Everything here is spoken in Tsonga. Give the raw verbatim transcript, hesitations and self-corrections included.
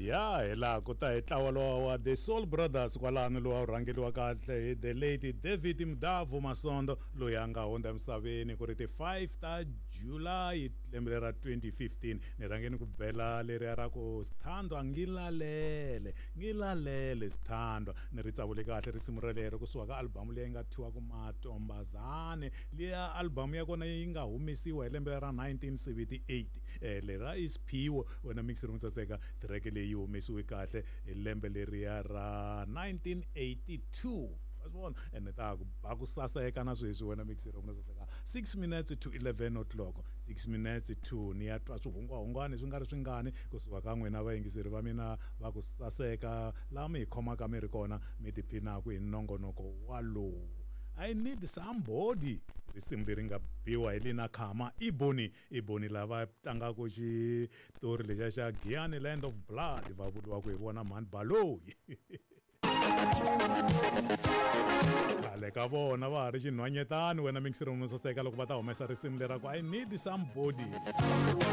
Ya hi laha ku ta hi ntlawa lowa wa The Soul Brothers kwalano, lowa wu rhangeliwa kahle hi the late David Mdavu Masondo, loyi a nga hundza emisaveni ku ri ti five ta July lembe ra twenty fifteen. Ni rhangeni ku bela leriya ra ku Sithandwa ngilalele, ngilalele Sithandwa, ni ri tsavule kahle risimu rolero kusuka ka album leyi nga thyiwa ku Matombazane. Liya album ya kona yi nga humesiwa hi lembe ra nineteen seventy eight. Eh, lera i Siphiwo wena mixer mo saseka, track leyi yi humesiwe kahle hi lembe leriya ra nineteen eighty two. Wa swi vona? Ene ta ku ba ku saseka na sweswi wena mixer mo saseka. Six minutes to eleven o'clock, six minutes to ni ya twa swihungwahungwani swi nga ri swingani kusuka ka n'wina vayingiseri va mina va ku saseka laha mi hi khomaka mi ri kona mi tiphinaku hi nongonoko walowu. I need somebody, risimu leri nga biwa hi Lina Khama Iboni. Iboni lava tlangaka xitori lexiya xa Giyani Land of Blood, va vuriwaka hi vona Mhani Baloyi. Khale ka vona va ha ri xinhwanyetani wena mixer mo saseka loko va ta humesa risimu lera ku I need somebody.